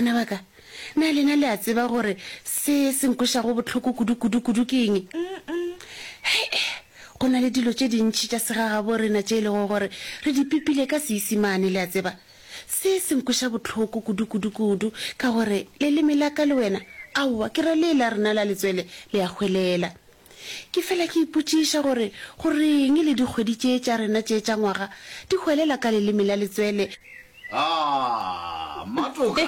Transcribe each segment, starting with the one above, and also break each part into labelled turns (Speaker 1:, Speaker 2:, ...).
Speaker 1: Bana ba ka, na lena le a tseba gore se se nkwešago bohloko kudu-kudu-kudu ke eng? Hei, go na le dilo tše dintši tša segagabo rena tše e lego gore re di pipile ka Seisimane, le a tseba. Se se nkweša bohloko kudu-kudu-kudu ka gore leleme la ka le wena, aowa, ke ra lee la rena la letswele, le a hwelela. Ke fela ke ipotšiša gore go reng le dikgwedi tše tša rena tše tša ngwaga di hwelela ka leleme la letswele.
Speaker 2: Ah, Mmatoka,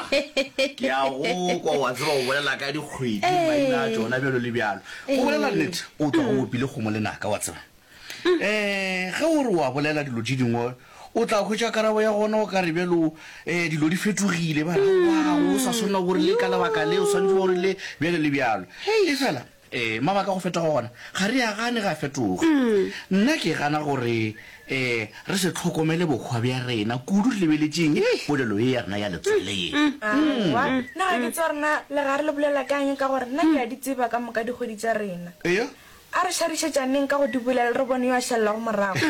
Speaker 2: ke a go kwa wa tseba go bolela ka dikgwedi, maina a tšona bjalo le bjalo. Go bolela nnete, o tloga o opile kgomo lenaka, wa tseba. Um ge o re wa bolela dilo tše dingwe, o tla hwetša karabo ya gona o ka re bjalo um dilo di fetogile, ba re aowa, o sa swanela gore le ka lebaka le, o swanetše gore le bjalo le bjalo. Efela Ee, mabaka a go fetoga gona ga re a gane ge a fetoga. Nna ke gana gore um re se hlokomele bohwa bja rena kudu re lebeletšeng polelo ye ya rena ya letswele ye.
Speaker 3: Aowa, nna ga ke tsebe gore na legare le bolela ka eng ka gore nna ke a di tseba ka moka dikgwedi tša rena.
Speaker 2: Eya.
Speaker 3: A re šadišetšaneng ka go di bolela re bone yo a šalelago morago.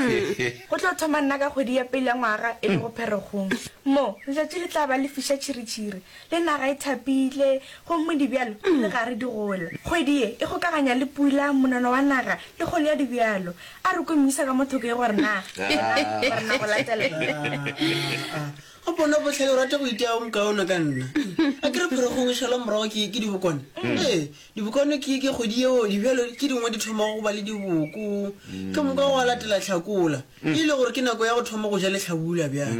Speaker 3: Go tlo thoma nna ka kgwedi ya pele ya ngwaga e lego Pherekgong. Mo, letšatši le tla ba le fiša tšhiritšhiri. Le naga e thapile, gomme dibjalo di le gare di gola. Kgwedi ye e kgokaganya le pula, monono wa naga, le kgolo ya dibjalo. A re kwe moisa ka mo thoko ye gore na yena o re na go latela eng.
Speaker 4: A bona bohlale o rata go itia o mokaone ka nna. A ke re pherekgong e šalwa morago ke ke dibokwane. Ee, dibokwane ke ke kgwedi yeo dibjalo tše dingwe di thomago go ba le diboko. Ke moka gwa latela hlakola. E le gore ke nako ya go thoma go ja lehlabula bjale.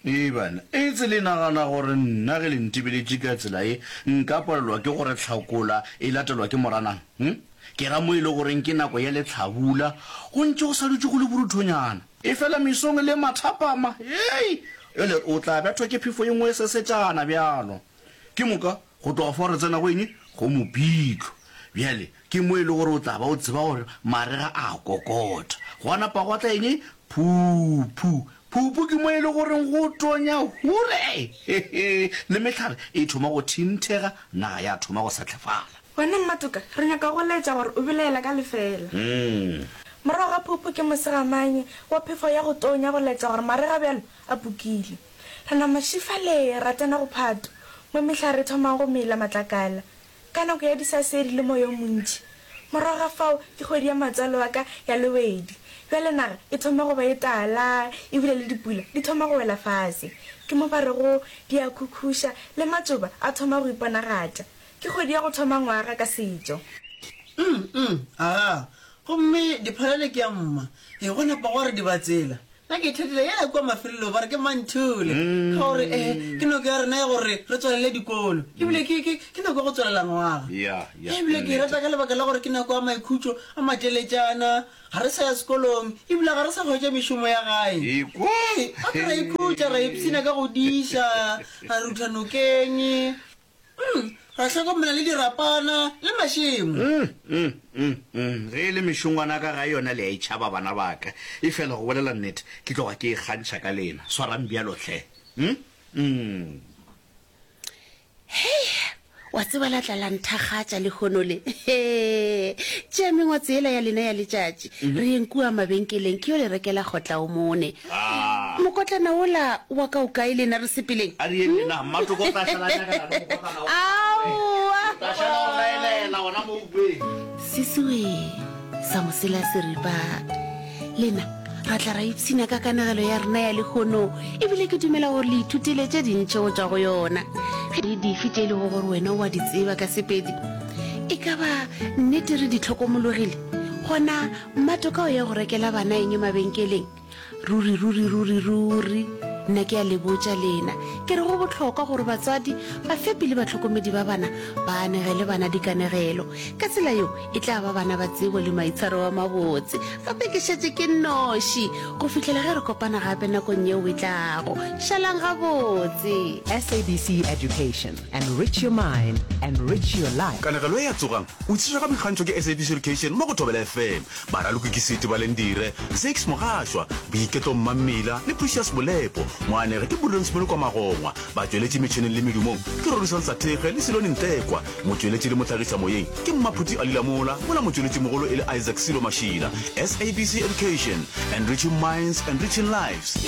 Speaker 2: Ee bana, etse le nagana gore nna ge le ntebeletše ka tsela ye nka palelwa ke gore hlakola e latelwa ke moranang? Hm? Ke ra mo e le goreng ke nako ya lehlabula, go ntše go sa dutše go le boruthonyana. Efela mesong le mathapama, hei, ele o tla bethwa ke phefo ye nngwe e sesetšana bjalo. Ke moka go tloga fao re tsena go eng? Go mopitlo. Bjale ke mo e le gore o tla ba o tseba gore marega a kokota. Gwa napa gwa tla eng? Phuphu. Phuphu ke mo e le goreng go tonya hure! Hehe! Le mehlare e thoma go thinthega, naga ya thoma go sehlefala.
Speaker 3: Wena Mmatoka, re nyaka go laetša gore o belaela ka lefeela. Morago ga phuphu ke mosegamanye wa phefo ya go tonya go laetša gore marega bjalo a pukile. Re nama šifale ra tsena go phato, mo mehlare e thomago go mela matlakala. Ka nako ya disasedi le moya o montši. Morago ga fao ke kgwedi ya matswalo a ka ya lewedi. Bjale naga e thoma go ba e tala ebile le dipula di thoma go wela fase. Ke mo ba rego di a khukhuša le matšoba a thoma go iponagatša. Ke kgwedi ya go thoma ngwaga ka setšo.
Speaker 4: Umm, umm, agaa. Gomme diphalane ke ya mma. Ee, go napa gwa re dibatsela. Nna ke ithatela yela kua mafelelong ba re ke Manthule ka gore eh ke nako ya rena ya gore re tswalele dikolo ebile ke ke ke nako ya go tswalela ngwaga
Speaker 2: Ya, ya,
Speaker 4: ebile ke e rata ka lebaka la gore ke nako ya maikhutšo a mateletšana ga re sa ya sekolong ebile ga re sa hwetša mešomo ya gae
Speaker 2: Ekwa.
Speaker 4: Ee, gape ra ikhutša ra ipshina ka go diša ra rutha nokeng Mm, ra hlokomela le dirapana le mašemo.
Speaker 2: Mm, mm, mm, mm. Ge e le mešongwana ka gae yona le a e tšhaba bana ba ka. Efela go bolela nnete, ke tloga ke ikgantšha ka lena. Swarang bjalo hle. Mm, mm.
Speaker 1: Hei, wa tseba la tla la nthakgatša lehono le. Hee, tšea mengwatse yela ya lena ya letšatši, re yeng kua mabenkeleng ke yo le rekela kgotla o mone. Mokotlana wola wa ka o kae lena re sepeleng?
Speaker 2: A re yeng lena, Mmatoko o tla šala a nyakana le mokotlana wa gagwe.
Speaker 1: Aowa!
Speaker 2: O tla šala o laelela gona mo ukweng.
Speaker 1: Sesiwe sa mosela seripa. Lena ra tla ra ipshina ka kanegelo ya rena ya lehono ebile ke dumela gore le ithutile tše dintši go tšwa go yona. Ge di dife tše e lego gore wena o a di tseba ka Sepedi e ka ba nnete re di hlokomologile? Gona Mmatoka o ya go rekela bana eng mabenkeleng? Ruri, ruri, ruri, ruri, nna ke a le botša lena, ke re go bohlokwa gore batswadi, bafepi le bahlokomedi ba bana ba anegele bana dikanegelo. Ka tsela yeo e tla ba bana ba tsebo le maitshwaro a mabotse. Gape ke šetše ke nnoši go fihlela ge re kopana gape nakong yeo e tlago. Šalang gabotse.
Speaker 5: SABC Education, enrich your mind, enrich your life.
Speaker 6: Kanegelo ye ya Tsogang! o tlišwa ka boikgantšho ke SABC Education mo go Thobela FM. Baraloki ke Seti Balendire, Zakes Mogašwa, Boiketlo Mmammila le Precious Molepo. Moanegi ke Prudence Molokwa Magongwa. Batšweletši metšhineng le medumong ke Rorisang Sathekge le Silone Ntekwa. Motšweletši le mohlagišamoyeng ke Mmaphuti Ali Lamola mola motšweletšimogolo e le Isaac Silo Mašila. SABC Education, enriching minds, enriching lives.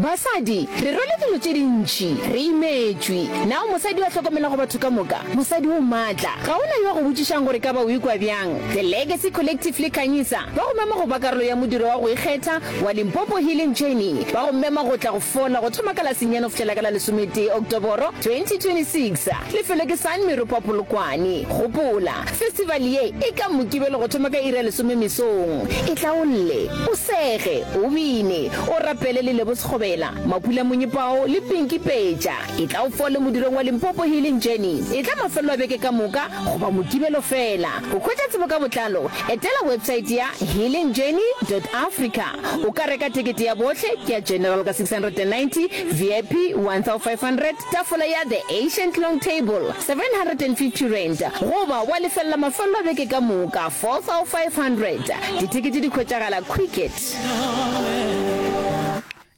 Speaker 7: Basadi, re rwele dilo tše dintši. Re imetšwe. Na o mosadi yo a hlokomelago batho ka moka? Mosadi o matla. Ga go na yo a go botšišang gore ka ba o ikwa bjang. The Legacy Collective le Khanyisa ba go mema go ba karolo ya modiro wa go ikgetha wa Limpopo Healing Journey. Ba go mema go tla go fola go thoma ka la senyane go fihlela ka la lesometee Oktoboro 2026. Lefelo ke San Meropa Polokwane. Gopola, festival ye e ka Mokibelo go thoma ka iri ya lesome mesong. Etla o lle, o sege, o bine, o rapele le Lebo Sekgobela, Mapula Monyepao le Pinky Petša. Etla o fole modirong wa Limpopo Healing Journey. Etla mafelelo a beke ka moka goba Mokibelo feela. Go hwetša tsebo ka botlalo, etela websaete ya healingjourney dot africa. O ka reka tekete ya bohle ke ya General ka 690, VIP 1500, tafola ya The Ancient Long Table R750 goba wa lefelela mafelelo a beke ka moka R4500. Dithekete di hwetšagala Quicket.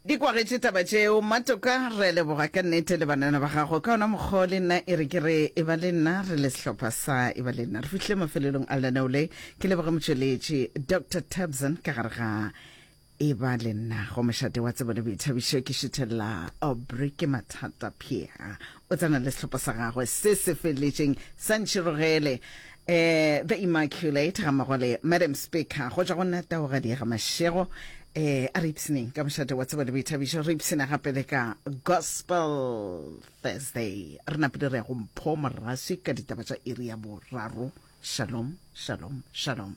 Speaker 8: Di kwagetše taba tšeo Mmatoka, re a leboga ka nnete le banana ba gago. Ka ona mokgwa o le nna e re ke re e ba le nna re le sehlopha sa e ba le nna. Re fihlile mafelelong a lenaneo le. Ke leboge motšweletši Doctor Tabson ka gare ga e ba le nna go mošate wa tsebo le boithabišo ke šuthelela Aubrey ke mathata Pierre o tsena le sehlopha sa gagwe se se feleletšeng sa Ntšhirogele eh The Immaculate ga mmogo le Madam Speaker go tšwa go nna Taugadi ga Mashego eh a re ipshineng ka mošate wa tsebo le boithabišo re ipshina gape le ka Gospel Thursday re napile re ya go Mpho Moraswi ka ditaba tša iri ya boraro shalom shalom shalom.